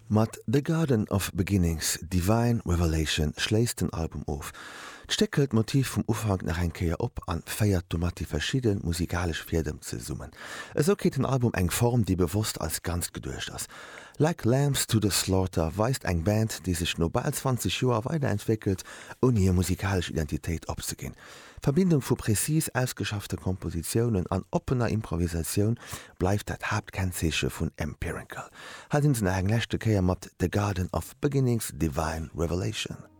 Mat The Garden of Beginnings, Divine Revelation schléisst den Album of. D'Stéck hëlt d'Motiv vum Ufank nach eng Kéier op an féiert domat déi verschidde musikalesch Fiedem zesummen. Esou kritt den Album eng Form, déi bewosst als Ganzt geduecht ass. Like Lambs to the Slaughter weist eng Band, déi sech no bal 20 Joer weiderentwéckelt, ouni hir musikalesch Identitéit opzeginn. D'Verbindung vu prezis ausgeschaffte Kompositiounen an oppener Improvisatioun bleift dat Haaptkennzeeche vun Empirical. Hei sinn se nach eng leschte Kéier mat The Garden of Beginnings, Divine Revelation.